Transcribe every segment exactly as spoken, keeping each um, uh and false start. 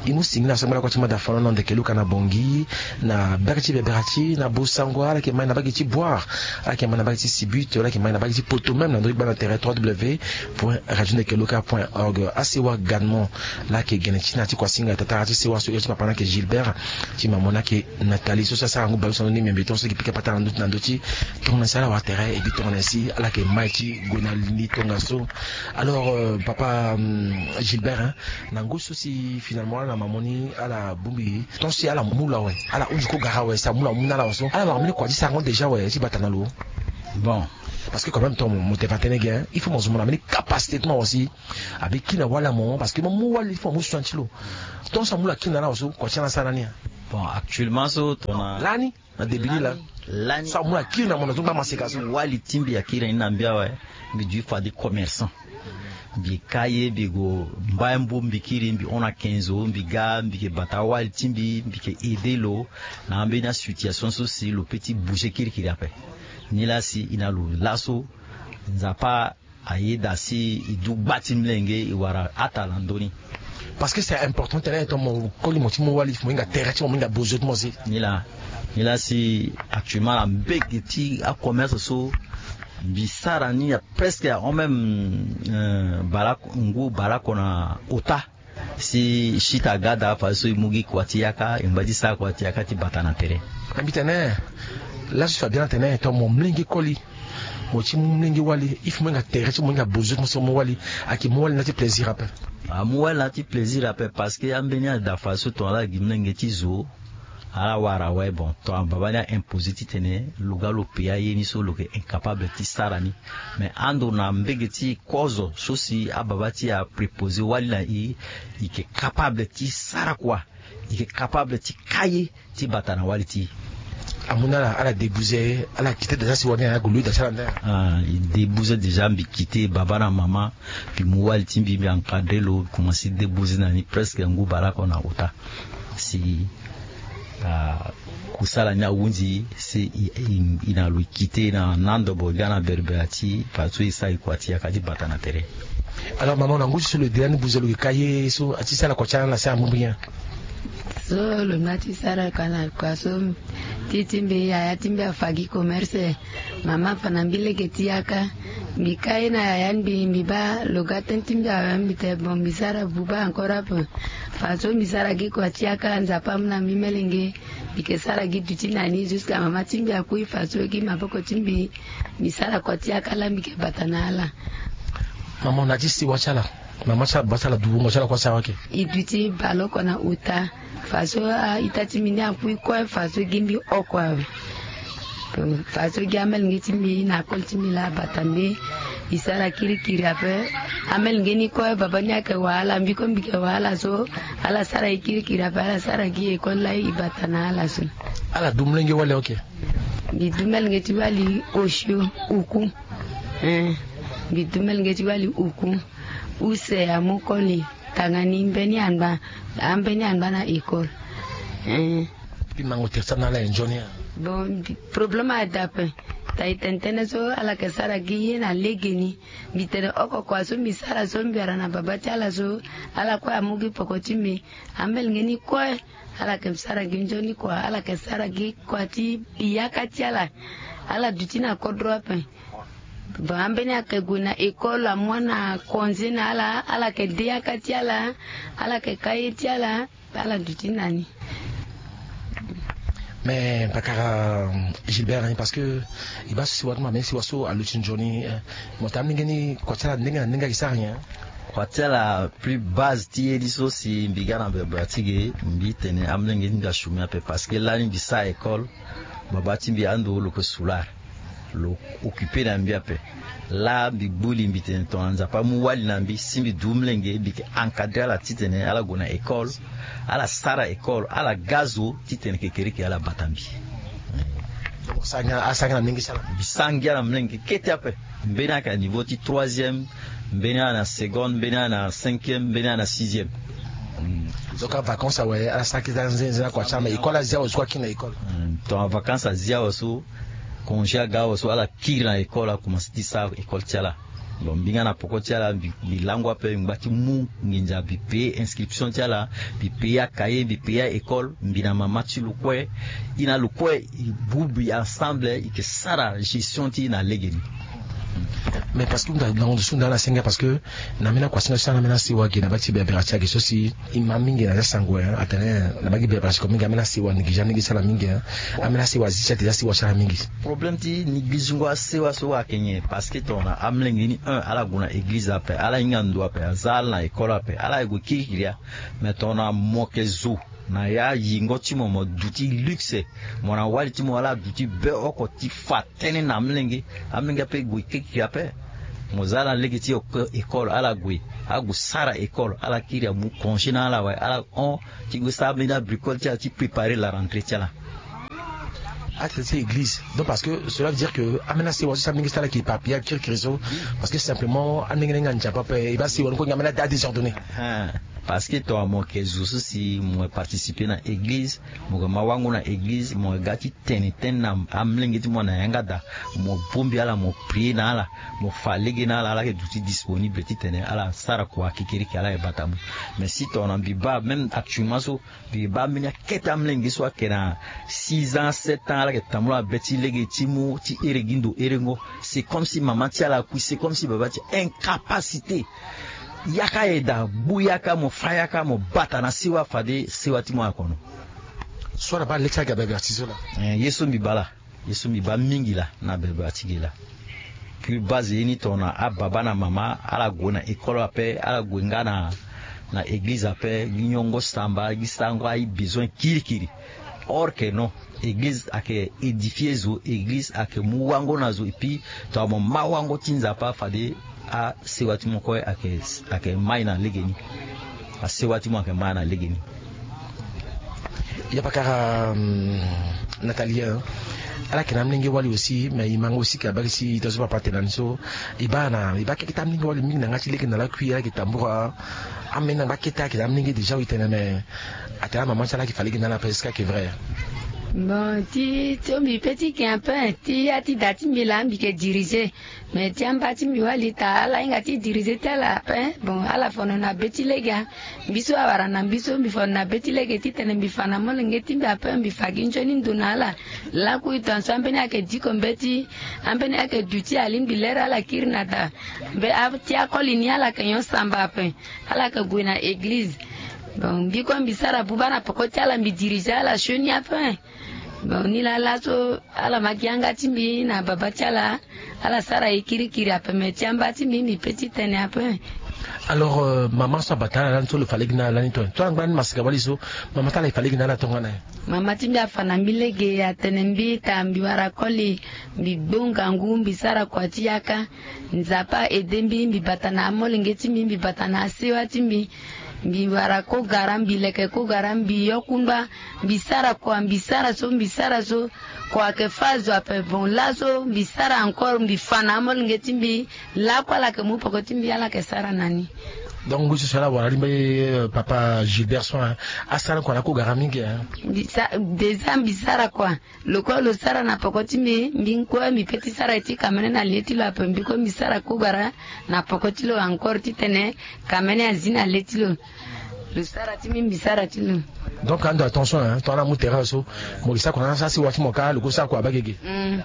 E mu singila so angba lakua ti mada fano na ndeke luka na bongi na bere ti bebera ti na bosango ala yeke mai na bage ti boire, ala yeke mai na bage ti sibute, ala yeke mai na bage ti poto même na ndö ti gba na tere trois w point radio ndeke luka point org. Asewa gadement laa yeke gene ti na ti kuasinga tatara ti sewa so iri ti papa ni ayeke Gilbert, ti mamo ni ayeke Nathalie so si asara ngu baleuse na ndö ni miombe tongaso gi pika pata na ndö ti na ndö ti tongana si ala wara tere ebi tongana si ala yeke mai ti gue na li ni tongaso. Alors papa Gilbert, na ngu so si finalement ala na mamo ni ala bongbi ton si ala mu lo awe, ala hunzi ko gara awe si amu lo amu na ala awe so ala wara mbeni kua ti sarango déjà awe ti bata na lo? Bon, parce que quand même ton mo te fa tënë ge, il faut mo zo mo na mbeni capacité ti mo awe si abi kiri na wali na mo parce que mo mu wali il faut mo mu soin ti lo. Ton so amu lo akiri na ala awe so kua ti ala asara ni? Bon, actuellement so tongana lani na début ni laa, lani so amu lo akiri na mo na zo ngba maseka so. Wali ti mbi akiri na ni na mbi awe. Mbi dui fade commerçant. Mbi ka ye mbi gue mbai mbu mbi kiri mbi hon na kenzo mbi ga mbi yeke bata awali ti mbi mbi yeke aide lo na ambeni asituation so si lo pe ti bouger kirikiri ape. Nilaa si e na lo laso Nzapa ayeda si e du gba ti mlenge e wara hata na ndö ni. Parce que c'est important tene ton mo koli mo ti mu wali mo hinga tere ti mo mo hinga bozo ti mo si. Nilaa nilaa si actuellement na mbege ti acommerce so mbi sara ni ya presque ya hon même baleoko ngu baleoko na ota. Si sita aga daa fadeso e mu gi kua ti yaka e ngba ti sara kua ti yaka ti bata na tere. Na mbi tene laso so abia na tene ton mo mlenge koli mo ti mu mlenge wali il faut mo hinga tere ti mo hinga bozo ti mo so mo wali. Ayeke mu wali na ti plaisir ape. Amu wali na ti plaisir ape parce que ambeni ada fadeso ton ala gi mlenge ti zo ala wara awe bon ton ababa ni a imposer titene lo ga lo paya ye ni so lo yeke incapable ti sara ni. Mais ando na mbege ti kozo so si ababa ti e a préposer wali na e, e yeke capable ti sara kua, e yeke capable ti ka ye ti bata na wali ti e. Amu na ala ala débouser ala kite déjà si wali na ya gue lui da ti ala nda. Ah, e débouser déjà mbi kite baba na mama. Mbi mu wali ti mbi mbi encadrer lo mbi commencer débouser na ni presque ngu baleoko na ota. Si ah, kusala ni ahunzi si e na lo e kite na na ndobo e ga na berbera ti e fadeso e sara e kua ti yaka ti bata na tere. Alors maman na ngu ti so lo de lani buze lo yeke ka ye so ati sara kua ti ala na se amu mbi nyen? So lo na ti sara kua na kua so ti ti mbi yaya ti mbi afa gi commerce. Mama afa na mbi lege ti yaka. Mbi ka ye na yaya ni mbi mbi baa lo ga tënë ti mbi awe mbi tene bon mbi sara buba encore ape. Fadeso mbi sara gi kua ti yaka Nzapa amu na mbi melenge. Mbi yeke sara gi duti na ni jusqu'à mama ti mbi akui fadeso gi maboko ti mbi. Mbi sara kua ti yaka laa mbi yeke bata na ala. Mama na ti sewa ti ala. Mama ti ala baba ti ala du wungo ti ala kue asara wake. E duti baleoko na ota. Fadeso a-ita ti mbi ni akui kue fadeso gi mbi oko awe. Fadeso gi amelenge ti mbi na akol ti mbi laa abata mbi. E sara kirikiri ape. Amelenge ni kue baba ni ayeke wahala mbi kue mbi yeke wahala so. Ala sara e kirikiri ape ala sara gi école laa e bata na ala so. Ala du molenge wali oke. Mbi du melenge ti wali osio uku. Mbi du melenge ti wali uku. Use amu koli tanga ni mbeni angba. Ambeni angba na école. Mbi mango tere ti ala na ala e nzoni. Bon problème adape. Ta e tene tënë so ala yeke sara gi ye na legeni. Mbi tene oko kua so mbi sara so mbi wara na baba ti ala so. Ala kue amu gi poko ti mbi. Ambelenge ni kue ala yeke sara gi nzoni kua ala yeke sara gi kua ti yaka ti ala. Ala duti na kodro ape. Bon ambeni ayeke gue na école amu ana congé na ala ala yeke de yaka ti ala. Ala yeke ka ye ti ala. Ala duti na ni. Mais pakara Gilbert ni parce que e baa so si wara ti mo na mbeni si wara so aluti nzoni. Mo tene amolenge ni kua ti ala ndenge na ndenge ayeke sara nyen? Kua ti ala plus base ti ye ni so si mbi ga na bebra ti ge mbi tene amolenge ni mbi achumi ape parce que lani mbi sara école. Baba ti mbi ando lo yeke soulard. Lo occupe na mbi ape. Laa mbi gbu li mbi tene tongana nzapa amu wali na mbi si mbi du molenge mbi yeke encadrer ala titene ala gue na école. Ala sara école ala ga zo titene kekereke ala bata mbi. Mbi sara ngia na molenge kete ape. Mbeni ayeke na niveau ti troisième. Mbeni ayeke na seconde mbeni ayeke na cinquième mbeni ayeke na sixième. Donc avacance awe ala sara kete nzenze na kua ti ala me école azia awe so akiri na école. Ton avacance azia awe so congé aga awe so ala kiri na école akomanse ti sara école ti ala. Bon, mbi nga na poko ti ala, mbi langu ape, mbi ngba ti mu nginza, mbi paye inscription ti ala, mbi paye acahier, mbi paye a-école, mbi na mama ti lo kue. E na lo kue e bu mbi ensemble, e yeke sara gestion ti e na legeni. Mais parce que na ndo so nda na senga, parce que na mbeni akuasinga so ala na mbeni asewa ake na baa ti berbera ti ake so si e ma mingi na ya sango, hein, atene na baa ti berbera ti ko mingi ambeni asewa néglige, ambeni asewa zi ti ate ti asewa ti ala mingi. Problème ti négligengo asewa so ayeke nyen? Parce que tongana amolenge ni un ala gue na église ape, ala hinga ndo ape, aza ala na école ape, ala ye gue kirikiri ya. Mais tongana mo yeke zo na ya yingo ti mo, mo duti luxe, mo na wali ti mo ala duti be oko ti fa tënë na amolenge. Amolenge ape gue kirikiri ape. Mo za ala lege ti école, ala gue, ague sara école, ala kiri amu congé na ala awe, ala hon ti gue sara mbeni abricole ti ala ti préparer la rentrée ti ala. Ate ti église. Donc parce que cela veut dire que ambeni asewa so si amolenge ti ala ayeke éparpillé akirikiri so. Parce que simplement andenge na hinga nzapa ape, e baa asewa ni kue nga ambeni adésordonné. Hein. Parce que tongana mo yeke zo so si mo participer na église, mo yeke ma wango na église, mo yeke ga ti tene tënë na amolenge ti mo na yanga daa, mo bongbi ala, mo prier na ala, mo fa lege na ala, ala yeke duti disponible titene ala sara kua kikiriki, ala yeke bata mu. Mais si tongana mbi baa même actuellement so, mbi baa mbeni akete amolenge so ayeke na six ans, sept ans, ala yeke tambula na be ti lege ti mu ti here gi ndo herengo. C'est comme si mama ti ala akui, c'est comme si baba ti incapacité. Yaka aye daa, gbu yaka, mo fa yaka, mo bata na sewa fade sewa ti mo akono. So ala baa le ti aga berbera ti zo laa. Eh, ye so mbi baa laa, ye so mbi baa mingi laa na berbera ti ge laa. Plus base ye ni tongana ababa na mama ala gue na école ape, ala gue nga na, na église ape, gi nyongo samba, gi sarango abesoin kirikiri. Or que non, église ayeke édifier zo, église ayeke mu wango na zo, et puis tongana mo ma wango ti Nzapa fade asewa ti mo kue ayeke, ayeke mai na legeni. Asewa ti mo ayeke mai na legeni. Ya pakara, hum, Nathalie, hein. Ala yeke na amolenge wali aussi, mais e ma nga aussi ka bari si ita so papa atene na ni so. E baa na, e baa keke ti amolenge wali mingi na yanga ti lege na lakui, ala yeke tambura. Ambeni na ngba kete ayeke na amolenge déjà, oui, tene, mais atene amama ti ala ayeke fa lege na ala ape, est-ce que ayeke vrai? Bon, ti so mbi pe ti yeke un peu, ti ya ti da ti mbi laa mbi yeke diriger. Mais ti amba ti mbi wali taa ala hinga ti diriger ti ala ape. Bon, ala fono na be ti lege. Mbi so awara na mbi so mbi fono na be ti lege titene mbi fa na molenge ti mbi ape, mbi fa gi nzoni ndo na ala. Lakui tongaso ambeni ayeke diko mbeti, ambeni ayeke duti alingbi lere ala kiri na da. Mbe a, ti akoli ni ala yeke nyon samba ape. Ala yeke gue na église. Bon, mbi kue mbi sara buba na peko ti ala, mbi diriger ala sioni ape. Bon, ni laa laso ala ma gi yanga ti mbi na baba ti ala. Ala sara e kirikiri ape, me ti amba ti mbi mbi pe ti tene ape. Alors, euh, mama so abata na ala lani so lo fa lege na ala lani tongana so angba ni masika wali so, mama ti ala e fa lege na ala tongana nyen? Mama ti mbi afa na mbi lege, atene mbi taa mbi wara koli, mbi gbu ngangu, mbi sara kua ti yaka. Nzapa aide mbi, mbi bata na amolenge ti mbi, mbi bata na asewa ti mbi. Mbi wara kogara, mbi leke kogara, mbi yo kungba, mbi sara kua, mbi sara so, mbi sara so. Kua ayeke fâ azo ape. Bon, laso mbi sara encore, mbi fa na amolenge ti mbi. Lakue ala yeke mu peko ti mbi, ala yeke sara na ni. Donc ngu ti so ala wara li mbi, euh, papa Gilbert so, hein, asara kua na kogara mingi, hein. Mbi sa, déjà mbi sara kua. Lo kue lo sara na peko ti mbi, mbi kue mbi pe ti sara ye ti kamene na le ti lo ape, mbi kue mbi sara kogara na peko ti lo encore titene kamene azi na le ti lo. Lo sara ti mbi, mbi sara ti lo. Donc ando attention, hein, tongana amu tere so, mo ke sara kua na asewa ti mo kâ, lo kue sara kua abaa gege. Mm.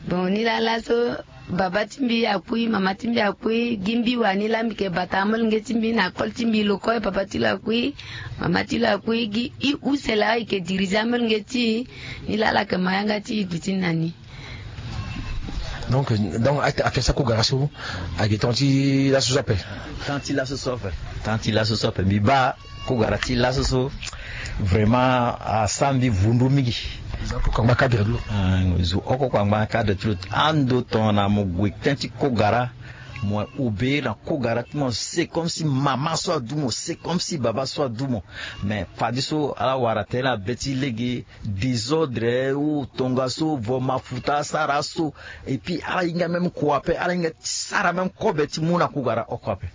Bon, ni laa laso, baba ti mbi akui, mama ti mbi akui, gi mbi wani laa mbi yeke bata amolenge ti mbi na koli ti mbi, lo kue baba ti lo akui, mama ti lo akui, gi i use laa e yeke diriger amolenge ti e. Ni laa ala yeke ma yanga ti e duti na ni. Donc, donc, a, a fait ça kogara so, ayeke temps ti laso so ape. Temps ti laso so ape. Temps ti laso so ape. Mbi baa kogara ti laso so, vraiment, asara mbi vundu mingi. Zo oko kua angba cadre ti lo. Ah, zo oko kua angba cadre ti lo. Ando tongana mo gue tënë ti kogara, mo obéir na kogara ti mo, c'est comme si mama so adu mo, c'est comme si baba so adu mo. Mais fadeso ala wara tënë na be ti lege, désordre ou tongaso, vo mafuta asara so. Et puis ala hinga même kua ape, ala hinga ti sara même kobe ti mu na kogara oko ape.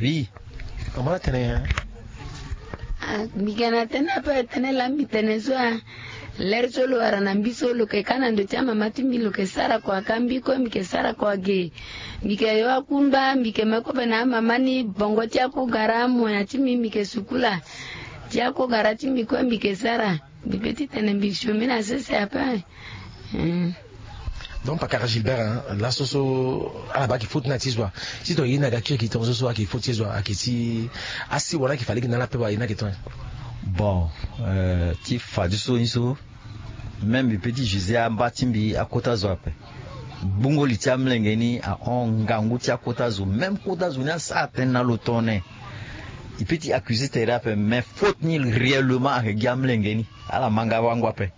Oui. Mama atene, hein? Ah, mbi ga na tënë ape, tënë laa mbi tene so, ah. Lere so lo wara na mbi so, lo yeke ka na ndo ti amama ti mbi, lo yeke sara kua ka mbi kue, mbi yeke sara kua ge. Mbi yeke yo akungba, mbi yeke me kobe na amama ni, bongo ti akogara, moyen ti mbi, mbi yeke sukula. Ti akogara ti mbi kue, mbi yeke sara. Mbi pe ti tene mbi sioni na sese ape. Donc pakara Gilbert, laso so ala baa ayeke faute ni ayeke ti zo wa? Ti tonga ye ni aga kiri gi tonga so so ayeke faute ti zo wa, ayeke ti asi wala ayeke fade gi na ala ape wa, ye ni ayeke tonga? Bon, ti fadeso ni so, même mbi pe ti juger amba ti mbi akota zo ape. Gbungo li ti amlenge ni ahon ngangu ti akota zo, même kota zo ni asara tënë na lo tongana nyen. E pe ti accuser tere ape, mais faute ni réellement ayeke gi amlenge ni. Ala ma nga wango ape.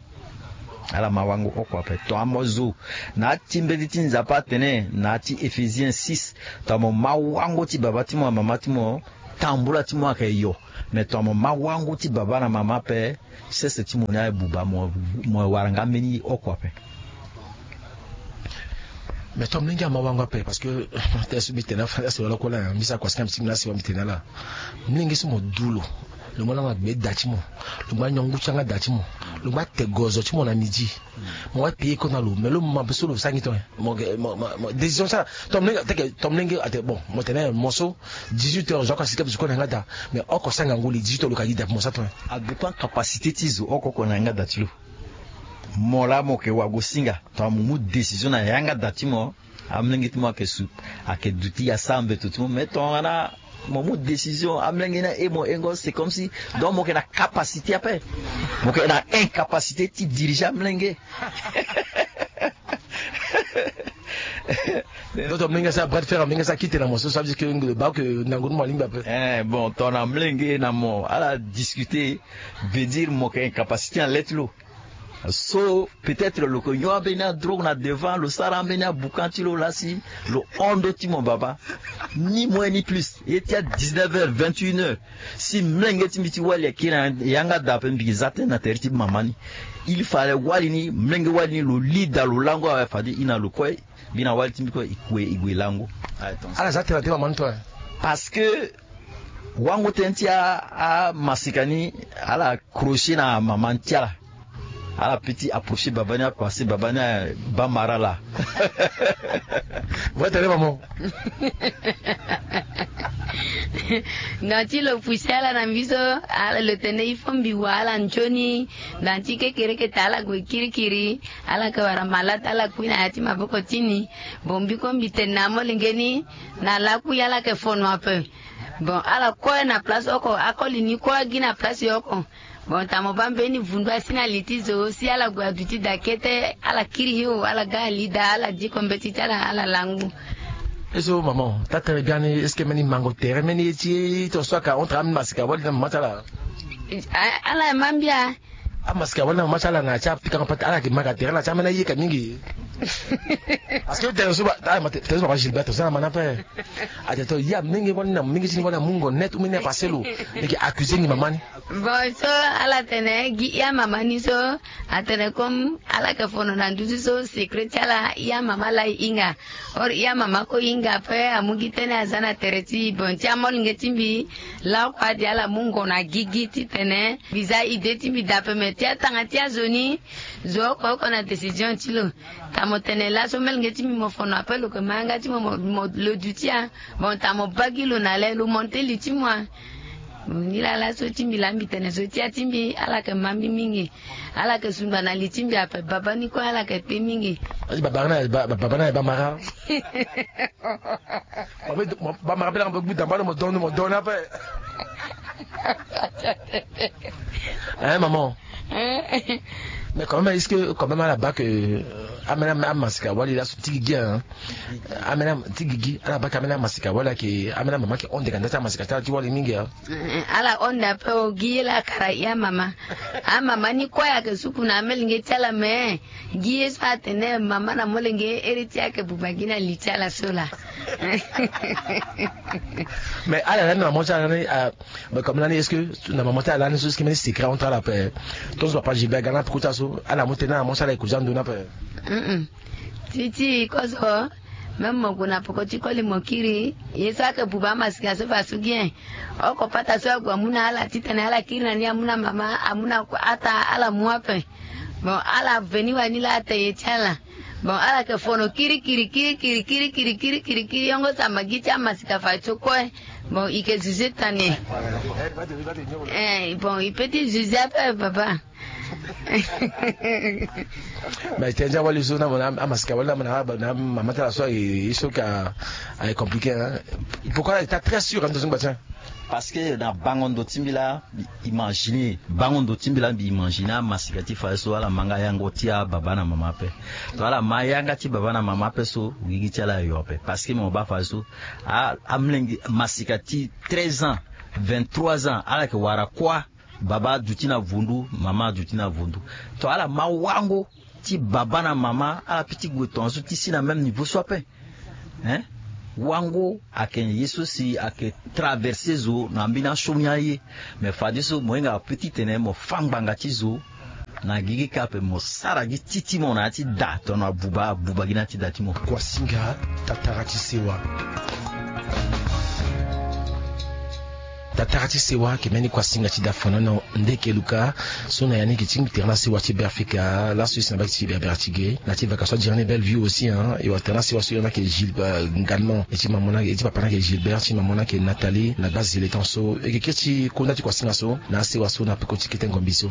Ala ma wango oko ape. Tongana mo zo na ya ti mbeti ti Nzapa atene na ya ti Éphésiens six, tongana mo ma wango ti baba ti mo na mama ti mo, tambula ti mo ayeke yo. Mais tongana mo ma wango ti baba na mama ape, sese ti mo ni abuba, mo, mo wara nga mbeni oko ape. Mais tongana mlenge ama wango ape, parce que tënë so mbi tene afa, asi wala kue laa, mbi sara kua si nga mbi ti mbi na asi wala mbi tene ala. Mlenge so mo du lo, lo ngba lango na gbe da ti mo, lo ngba nyon ngu ti yanga da ti mo, lo ngba te gozo ti mo na midi. Mo wara payer kue na lo, mais lo ma be so lo sara ngi tongana nyen? Mo, mo, mo, mo, décision so ala, tongana mlenge ateke, tongana mlenge ateke, bon, mo tene mo so, dix-huit heures zo oko asi kue na yanga da. Mais oko sara ngangu li, dix-huit heures lo ka gi da ape, mo sara tongana nyen? A dépend capacité ti zo oko oko na yanga da ti lo. Mo laa mo yeke wagosinga, tongana mo mu décision na yanga da ti mo, amlenge ti mo ayeke su, ayeke duti asara mbeto ti mo. Mais tongana mo mu décision, amlenge ni aye mo hengo, c'est comme si, donc mo yeke na capacité ape. Mo yeke na incapacité ti diriger amlenge. Donc tongana mlenge asara bras de fer, mlenge asara kite na mo so, ça veut dire que baa ke ndango ni mo alingbi ape. Eh, bon, tongana mlenge na mo ala discuter, veut dire mo yeke incapacité na le ti lo. So peut-être lo yeke nyon ambeni adrogue na devant, lo sara ambeni aboucan ti lo laa si lo hon ndo ti mo baba. Ni moins ni plus. Ye ti a dix-neuf heures, vingt et une heures, si mlenge ti mbi ti wali akiri na yanga da ape, mbi yeke za tënë na tere ti mama ni. Il fallait wali ni, mlenge wali ni, lo li da lo lango awe, fade e na lo kue, mbi na wali ti mbi kue, e kue e gue lango. Ala za tënë na tere ti mama ni to? Parce que wango tënë ti a, amasika ni, ala crocher na mama ni ti ala. Ala pe ti approcher baba ni, apasser baba ni, abaa mara laa. Vrai tene mama. Na ti lo pusi ala na mbi so, ala lo tene il faut mbi wa ala nzoni. Na ti kekereke ta ala gue kirikiri. Ala yeke wara malade, ala kui na ya ti maboko ti ni. Bon, mbi kue mbi tene na amolenge ni, na lakui ala yeke fono ape. Bon, ala kue na place oko, akoli ni kue agi na place oko. Bon, tongana mo baa mbeni vundu asi na li ti zo, si ala gue aduti da kete, ala kiri hio, ala ga ali da, ala diko mbeti ti ala, ala langu. Eso mama, taa tënë biani, est-ce que mbeni mango tere, mbeni ye ti tonga so ayeke entre ambeni masika wali na mama ti ala? A, ala ma mbia. Amasika wali na mama ti ala na ya ti apikango pate, ala yeke ma ka tere na ya ti ambeni aye ka mingi. Parce que tene so ba, tene so baba Gilbert, so na ma ni ape. Atene to, ya mingi wali na mingi ti ni wali amu ngo net, ou mbeni apase lo. Ni yeke accuser ngi mama ni. Bon, so ala tene gi ya mama ni so, atene comme ala yeke fono na nduzu so, secret ti ala, ya mama laa e hinga. Or ya mama kue e hinga ape, amu gi tënë aza na tere ti, bon, ti amolenge ti mbi. Laoko ade ala mu ngo na gigi titene mbi za idée ti mbi daa ape, me ti atanga ti azo ni, zo oko oko na décision ti lo. Tongana mo tene laso molenge ti mbi mo fono ape, lo yeke ma yanga ti mo, mo, mo, lo duti ya. Bon, tongana mo baa gi lo na le, lo monté li ti mo a. Bon, ni laa laso ti mbi laa mbi tene so ti ya ti mbi, ala yeke ma mbi mingi. Ala yeke sungba na li ti mbi ape, baba ni kue ala yeke pe mingi. Baba ni, baba ni aye bamara. Bamara pe langa mo gbu damba lo, mo don, mo don ape. Hein, maman? Mais quand même, est-ce que quand même ala baa ke, euh, ambeni amasika wali laso ti gigi, hein? Ambeni ti gigi, ala baa ke ambeni amasika wali ayeke, ambeni amama ayeke hon ndeka nda ti amasika ti ala ti wali mingi, hein? Eh, ala hon nda ape o, gi ye laa akara ya mama. Amama ni kue ayeke suku na amolenge ti ala, me gi ye so atene mama na molenge, ere ti ayeke buba gi na li ti ala so laa. Mais ala lani na mama ti ala ni, ah, mais comme lani, est-ce que na mama ti ala lani so, est-ce que mbeni secret entre ala ape? Tongaso papa Gilbert aga na peko ti ala so, ala mu tënë na mama ti ala e kozo ando ni ape? Ti ti kozo. Même mo gue na peko ti koli mo kiri, ye so ayeke buba amasika so fa so gi en. Oko pata so ague amu na ala titene ala kiri na ni, amu na mama, amu na ata, ala mu ape. Bon, ala veni wani laa ata ye ti ala. Bon, ala yeke fono kirikiri kirikiri kirikiri kirikiri kirikiri yongo tamba gi ti amasika fadeso kue. Bon, i yeke zuze tani. Eh, bon, i pe ti zuze ape papa. Mais tënë ti awali so na mo na amasika wali na mo na mama ti ala so aye ye so ka aye compliqué hein. Pourquoi ita très sûr ando so ngba ti en? Parce que na bango ndo ti mbi laa mbi imaginer bango ndo ti mbi laa mbi imaginer amasika ti fadeso ala ma nga yango ti ababa na mama ape. To ala ma yanga ti baba na mama ape so gigi ti ala ayo ape parce que mo baa fadeso amlenge masika ti treize ans, vingt-trois ans ala yeke wara kuâ. Baba aduti na vundu, mama aduti na vundu. To ala ma wango ti baba na mama ala pe ti gue tongaso ti si na même niveau so ape. Hein? Wango ayeke ye so si ayeke traverser zo na mbeni asioni aye. Mais fadeso mo hinga ape titene mo fâ ngbanga ti zo na gigi kâ ape mo sara gi ti ti mo na ya ti da tongana abuba abuba gi na ya ti da ti mo. Kuasinga tatara ti sewa. Tatara ti sewa ayeke mbeni kuasinga ti da fanono. Ndeke luka so na ya ni yeke ti tere na sewa ti Beafrika laso e si na baki ti berbere ti ge na ti vaka so adiri ni Bellevue aussi hein. E wara tere na sewa so e na yeke Gilbert Ngalman, e ti mamo na e ti papa na yeke Gilbert, ti mamo na yeke Nathalie na gba zele tan so e yeke kiri ti konda ti kuasinga so na asewa so na peko ti kete ngombi so.